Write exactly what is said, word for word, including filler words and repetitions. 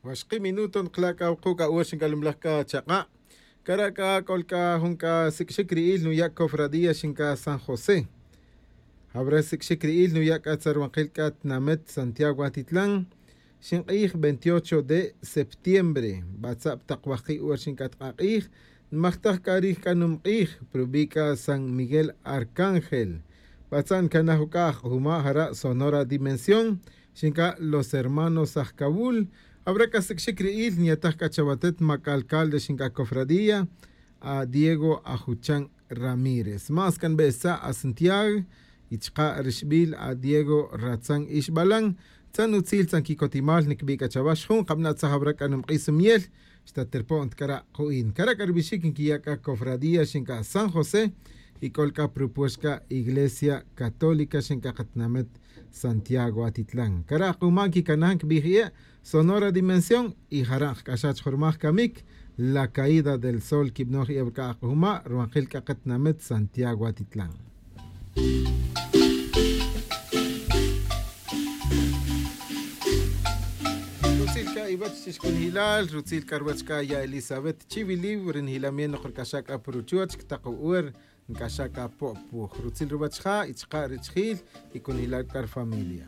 Waxki minuto nkala' c'a wuku' c'a wer xinc'alemlaj c'a chaka'. Cara' c'a c'ol c'a jun c'a sic'xic ri'il nuya' cofradía xinc'a san josé. Jawra sic'xic ri'il nuya' c'a tzaruwankil c'a tinamet santiago atitlan. Xink'ij veintiocho de septiembre batza'b tak wajki' wer xinc'a tk'ak'ij. Nmajtaj c'a rij c'a numk'ij prubi' c'a san miguel arcángel. Batza' ncanaj uc'a ajk'ujuma' jara' sonora dimensión. Xinc'a los hermanos ajcawul. Abra c'a sic'xic ri'il nyataj c'a chawatet mac'alcalde xinc'a cofradía a diego ajuchan ramírez mas can be'sa' a santiago. Y chaka' rixbil a diego ratzan ixbalan. Tzan utzil tzan quicotimal niquibi' c'a chawax jun kabana' tzaj abra c'a numk'ij sumiyel. Xtaterpo'nt cara' ku'in cara' c'a rubixic nquiya' c'a cofradía xinc'a san josé. Y c'ol c'a prupuex c'a iglesia católica xinc'a katinamet santiago atitlan cara' k'uma' nquicanaj nquibij ie'. Sonora dimensión y jara' nkac'axaj chujurmaj camic la caída del sol quibnoj ie' wac'a' ak'ujuma' ruwankil c'a katinamet santiago atitlan. Rutzil c'a iwech chixcunjilal rutzil c'a ruwech c'a ya elizabet chiwiliw ri njilam ye' nok ric'axaj c'a pa ruchuoch ctak u'er. Nc'axaj c'a po'puj rutzil ruwech ja' y chaka' richijil y cunjilal c'a rufamilia.